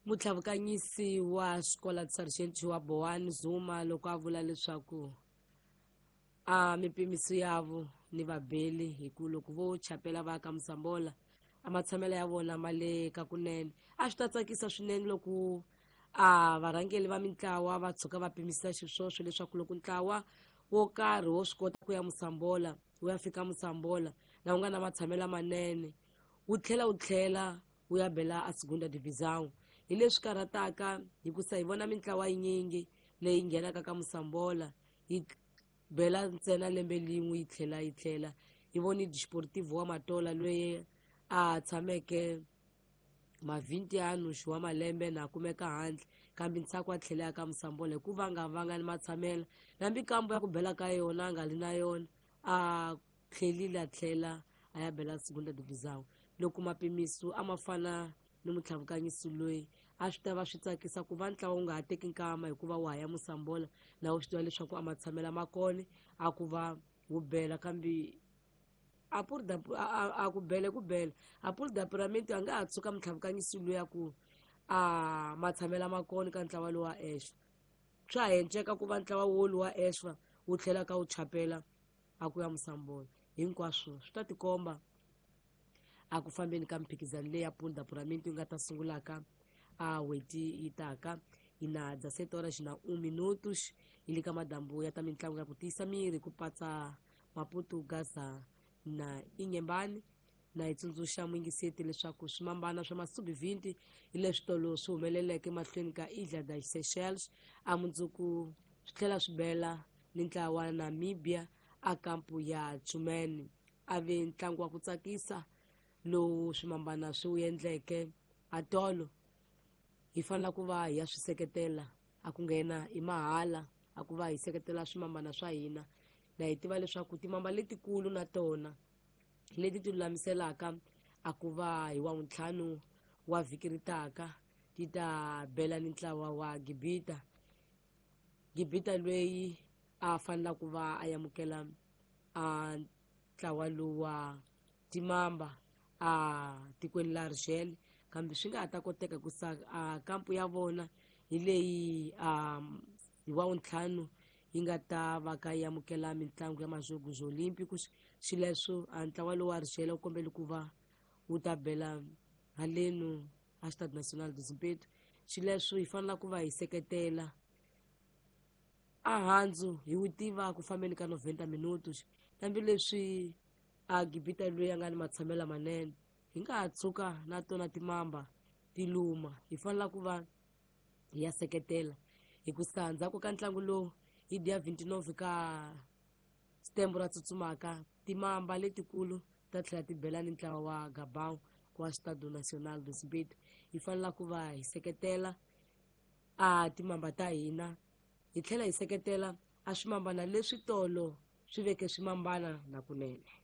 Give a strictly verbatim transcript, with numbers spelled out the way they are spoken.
Mutlhavukanyisi wa Escola de Sargento wa Boane Zuma loko a vula leswaku a mipimiso yavo ni vabeli hi ku loko vo chapela va ka Mosambola a matshamelo ya vona ma le ka kunene. A swi ta tsakisa swinene loko a varhangeli va mintlawa va tshuka va pimisa xiswoswo leswaku loko ntlawa wo karhi wo swi kota ku ya Mosambola wu ya fika Mosambola na wu nga na matshamelo lamanene wu tlhela wu tlhela wu ya bela a Segunda Divisão. Hi leswi karhataka hikusa hi vona mintlawa yinyingi leyi nghenaka ka Mosambola yi bela ntsena lembe lin'we yi tlhela yi tlhela. Hi voni Desportivo wa Matola loyi a tshameke mavhintiano wa malembe na kumeka handle kambe ntsako a tlhela ka Mosambola hikuva a nga vanga ni matshamelo nambi kambo ya ku bela ka yona a nga li na yona a tlhelile a tlhela a ya bela Segunda Divisão. Loko mapimiso a ma fana ni mutlhavukanyisi loyi a swi ta va swi tsakisa ku va ntlawa wu nga ha teki nkama hikuva wa ha ya Mosambola na wu swi tiva leswaku a matshamelo ma kona a ku va wu bela kambe a pur da a, a ku bele ku bela a pur da pyramid a nga ha tshuka mutlhavukanyisi loyi a ku a matshamelo ma kona ka ntlawa lowu wa Eshwa. Swa ha enceka ku va ntlawa wolu wa Eshwa wu tlhela ka wu chapela a ku ya Mosambola. Hinkwaswo swi ta tikomba a ku fambeni ka mphikizano leyi ya Pool da Pyramid yi nga ta sungulaka a n'hweti yi taka. Hi na dezessete horas na um minutos hi le ka madambu ya ta mitlangu ya ku tiyisa miri ku patsa Maputo, Gaza na Inhambane. Na hi tsundzuxa muyingiseti leswaku swimambana swa masubi vinti hi leswi tolo swi humeleleke mahlweni ka Ilha das Seychelles a mundzuku swi tlhela swi bela ni ntlawa wa Namibia a kampu ya Tshumene. A ve ntlangu wa ku tsakisa lowu swimambana swi wu endleke a tolo. Hi fanele ku va hi ya swi seketela a ku nghena i mahala a ku va hi seketela swimambana swa hina. Na hi tiva leswaku timamba letikulu na tona leti ti lulamiselaka a ku va hi wa ntlhanu wa vhiki ri taka ti ta bela ni ntlawa wa Gibita. Gibita loyi a fanela ku va a amukela a ntlawa lowu wa timamba a tikweni la Argel kambe swi nga ha ta koteka ku sa a kampu ya vona hi leyi a hi wa ntlhanu yi nga ta va ka yi amukela mitlangu ya Majogos Olímpicos. Xileswo a ntlawa lowu wa Argel wu kombele ku va wu ta bela halenu a Stade National de Zimpeto. Xileswo hi fanele ku va hi seketela a handzu hi wu tiva ku fambeni ka noventa minutos hambileswi a Gibita loyi a nga ni matshamelo lamanene hi nga ha tshuka na tona timamba ti luma. Hi fanele ku va hi ya seketela hikusa ndzhaku ka ntlangu lowu hi dia vinte e nove ka setembro ra tsutsumaka timamba letikulu ta tlhela ti bela ni ntlawa wa Gabon wa Stade National de Zimpeto. Hi fanele ku va hi seketela a timamba ta hina hi tlhela hi seketela a swimambana leswi tolo swi veke swimambana na kunene.